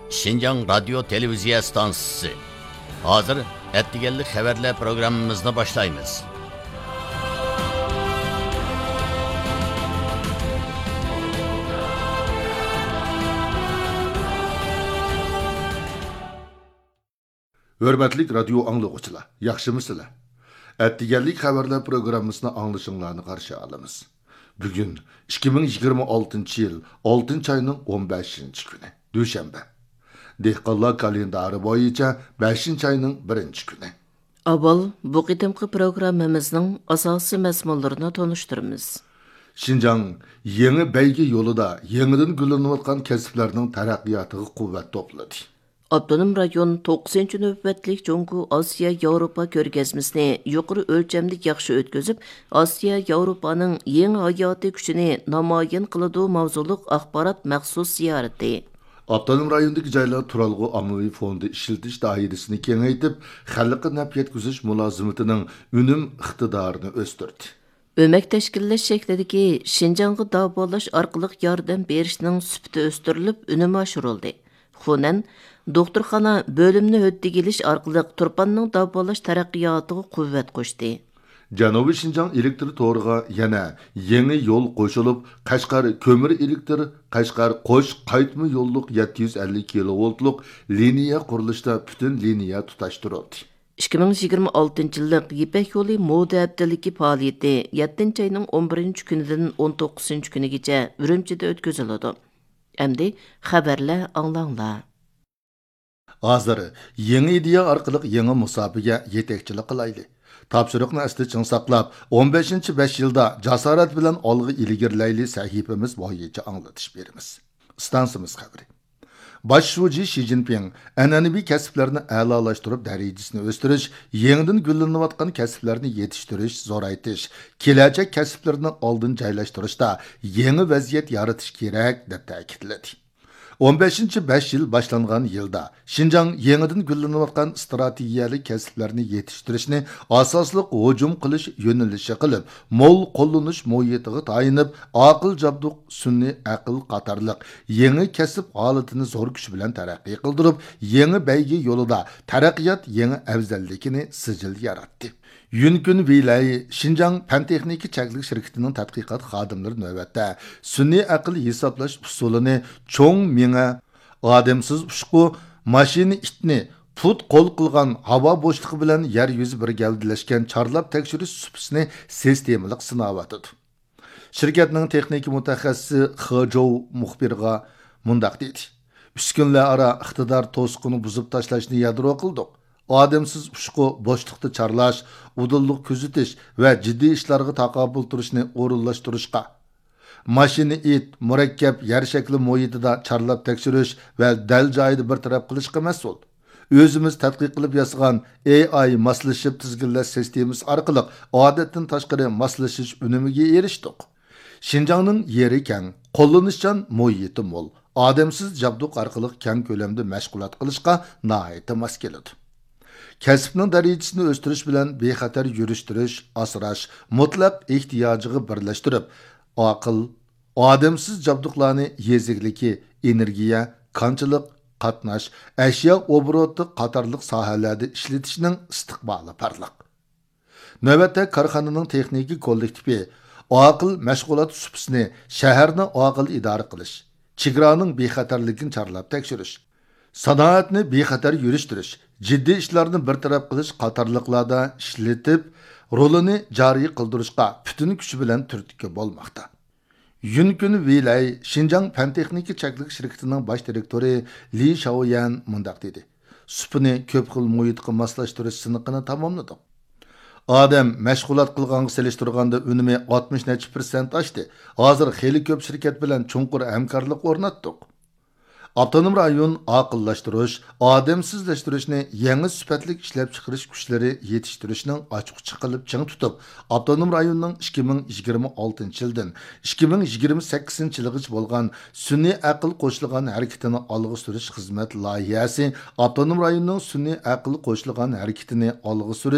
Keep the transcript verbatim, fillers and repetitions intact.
شىنجاڭ رادىيو تېلېۋىزىيە ئىستانسىسى. ھازىر ئەتىگەنلىك خەۋەرلەر پروگراممىمىزنى باشلايمىز. ھۆرمەتلىك رادىيو ئاڭلىغۇچىلار، ياخشىمۇسىلەر؟ ئەتىگەنلىك خەۋەرلەر پروگراممىسىنى ئاڭلىشىڭلارنى قارشى ئالىمىز. بۈگۈن ئىككى مىڭ يىگىرمە ئالتىنچى يىل ئالتىنچى ئاينىڭ ئون بەشىنچى كۈنى، دۈشەنبە. دېھقانلار كالېندارى بويىچە بەشىنچى ئاينىڭ بىرىنچى كۈنى. ئاۋۋال بۇ قېتىمقى پروگراممىمىزنىڭ ئاساسىي مەزمۇنلىرىنى تونۇشتۇرىمىز. شىنجاڭ يېڭى بەيگە يولىدا يېڭىدىن گۈللىنىۋاتقان كەسىپلەرنىڭ تەرەققىياتىغا قۇۋۋەت توپلىدى. ئاپتونوم رايون توققۇزىنچى نۆۋەتلىك جۇڭگو ئاسىيا ياۋروپا كۆرگەزمىسىنى يۇقىرى ئۆلچەمدە ياخشى ئۆتكۈزۈپ، ئاسىيا ياۋروپانىڭ يېڭى ھاياتىي كۈچىنى نامايان قىلىدۇ ماۋزۇلۇق ئاخبارات مەخسۇس زىيارىتى. ئاپتونوم رايوندىكى جايلار تۇرالغۇ ئاممىۋى فوندى ئىشلىتىش دائىرىسىنى كېڭەيتىپ، خەلققە نەپ يەتكۈزۈش مۇلازىمىتىنىڭ ئۈنۈم ئىقتىدارىنى ئۆستۈردى. ئۆمەك تەشكىللەش شەكلىدىكى شىنجاڭغا داۋالاش ئارقىلىق ياردەم بېرىشنىڭ سۈپىتى ئۆستۈرۈلۈپ، ئۈنۈمى ئاشۇرۇلدى. خۇنەن دوختۇرخانا بۆلۈمنى ھۆددىگە ئېلىش ئارقىلىق تۇرپاننىڭ داۋالاش تەرەققىياتىغا قۇۋۋەت قوشتى. جەنۇبىي شىنجاڭ ئېلېكتر تورىغا يەنە يېڭى يول قوشۇلۇپ، قەشقەر كۆمۈر ئېلېكتر، قەشقەر قوش قايتما يوللۇق يەتتە يۈز ئەللىك كىلوۋولتلۇق لىنىيە قۇرۇلۇشىدا پۈتۈن لىنىيە تۇتاشتۇرۇلدى. ئىككى مىڭ يىگىرمە ئالتىنچى يىللىق يىپەك يولى مودا ھەپتىلىكى پائالىيىتى يەتتىنچى ئاينىڭ ئون بىرىنچى كۈنىدىن ئون توققۇزىنچى كۈنىگىچە ئۈرۈمچىدە ئۆتكۈزۈلىدۇ. ئەمدى خەۋەرلەر ئاڭلاڭلار. ھازىر يېڭى ئىدىيە ئارقىلىق يېڭى مۇساپىگە يېتەكچىلىك قىلايلى. تاپشۇرۇقنى ئەستە چىڭ ساقلاپ، ئون بەشىنچى بەش يىلدا جاسارەت بىلەن ئالغا ئىلگىرىلەيلى سەھىپىمىز بويىچە ئاڭلىتىش بېرىمىز. ئىستانسىمىز خەۋىرى. باش شۇجى شى جىنپىڭ ئەنئەنىۋى كەسىپلەرنى ئەلالاشتۇرۇپ، دەرىجىسىنى ئۆستۈرۈش، يېڭىدىن گۈللىنىۋاتقان كەسىپلەرنى يېتىشتۈرۈش، زورايتىش، كېلەچەك كەسىپلىرىنى ئالدىن جايلاشتۇرۇشتا يېڭى ۋەزىيەت يارىتىش كېرەك، دەپ تەكىتلىدى. ئون بەشىنچى بەش يىل باشلانغان يىلدا، شىنجاڭ يېڭىدىن گۈللىنىۋاتقان ئىستراتېگىيەلىك كەسىپلەرنى يېتىشتۈرۈشنى ئاساسلىق ھۇجۇم قىلىش يۆنىلىشى قىلىپ، مول قوللىنىش مۇھىتىغا تايىنىپ، ئاقىل جابدۇق، سۈنئىي ئەقىل قاتارلىق يېڭى كەسىپ ھالىتىنى زور كۈچ بىلەن تەرەققىي قىلدۇرۇپ، يېڭى بەيگە يولىدا تەرەققىيات يېڭى ئەۋزەللىكىنى سىجىل ياراتتى. يۈنكۈن ۋېيلەي شىنجاڭ پەن تېخنىكا چەكلىك شىركىتىنىڭ تەتقىقات خادىملىرى نۆۋەتتە سۈنئىي ئەقىل ھېسابلاش ئۇسۇلىنى چوڭ مېڭە، ئادەمسىز ئۇچقۇ، ماشىنا ئىتنى پۇت قول قىلغان ھاۋا بوشلۇقى بىلەن يەر يۈزى بىر گەۋدىلەشكەن چارلاپ تەكشۈرۈش سۇپىسىنى سىستېمىلىق سىناۋاتىدۇ. شىركەتنىڭ تېخنىكا مۇتەخەسسىسى خې جوۋ مۇخبىرغا مۇنداق دېدى: ئۈسكۈنىلەر ئارا ئىقتىدار توسۇقىنى بۇزۇپ تاشلاشنى يادرو قىلدۇق. ئادەمسىز ئۇچقۇ بوشلۇقتا چارلاش، ئۇدۇللۇق كۆزىتىش ۋە جىددىي ئىشلارغا تاقابىل تۇرۇشنى ئورۇنلاشتۇرۇشقا، ماشىنا ئىت، مۇرەككەپ يەر شەكلى مۇھىتىدا چارلاپ تەكشۈرۈش ۋە دەل جايىدا بىر تەرەپ قىلىشقا مەسئۇل. ئۆزىمىز تەتقىق قىلىپ ياسىغان ئېي ئاي ماسلىشىپ تىزگىنلەش سىستېمىسى ئارقىلىق ئادەتتىن تاشقىرى ماسلىشىش ئۈنۈمىگە ئېرىشتۇق. شىنجاڭنىڭ يېرى كەڭ، قوللىنىشچان مۇھىتى مول، ئادەمسىز جابدۇق ئارقىلىق كەڭ كۆلەمدە مەشغۇلات قىلىشقا ناھايىتى ماس كېلىدۇ. كەسىپنىڭ دەرىجىسىنى ئۆستۈرۈش بىلەن بىخەتەر يۈرۈشتۈرۈش، ئاسراش مۇتلەق ئېھتىياجىغا بىرلەشتۈرۈپ، ئاقىل، ئادەمسىز جابدۇقلارنى يېزا ئىگىلىكى، ئېنېرگىيە، كانچىلىق، قاتناش، ئەشيا ئوبوروتى قاتارلىق ساھەلەردە ئىشلىتىشنىڭ ئىستىقبالى پارلاق. نۆۋەتتە كارخانىنىڭ تېخنىكا كوللېكتىپى ئاقىل مەشغۇلات سۇپىسىنى، شەھەرنى ئاقىل ئىدارە قىلىش، چېگرانىڭ بىخەتەرلىكىنى چارلاپ تەكشۈرۈش، سانائەتنى بىخەتەر يۈرۈشتۈرۈش، جىددىي ئىشلارنى بىر تەرەپ قىلىش قاتارلىقلاردا ئىشلىتىپ، رولىنى جارى قىلدۇرۇشقا پۈتۈن كۈچى بىلەن تۈرتكە بولماقتا. يۈنكۈن ۋېيلەي شىنجاڭ پەن تېخنىكا چەكلىك شىركىتىنىڭ باش دىرېكتورى لى شاۋيەن مۇنداق دېدى: سۇپىنى كۆپ خىل مۇھىتقا ماسلاشتۇرۇش سىنىقىنى تاماملىدۇق. ئادەم مەشغۇلات قىلغانغا سېلىشتۇرغاندا ئۈنۈمى ئاتمىش نەچچە پىرسەنت ئاشتى. ھازىر خېلى كۆپ شىركەت بىلەن چوڭقۇر ھەمكارلىق ئورناتتۇق. ئاپتونوم رايون ئاقىللاشتۇرۇش، ئادەمسىزلەشتۈرۈشنى يېڭى سۈپەتلىك ئىشلەپچىقىرىش كۈچلىرى يېتىشتۈرۈشنىڭ ئاچقۇچى قىلىپ چىڭ تۇتۇپ، ئاپتونوم رايوننىڭ ئىككى مىڭ يىگىرمە ئالتىنچى يىلدىن ئىككى مىڭ يىگىرمە سەككىزىنچى يىلىغىچە بولغان سۈنئىي ئەقىل قوشۇلغان ھەرىكىتىنى ئالغا سۈرۈش خىزمەت لايىھەسى ئاپتونوم رايوننىڭ سۈنئىي ئەقىل قوشۇلغان ھەرىكىتىنى ئالغا سۈرۈش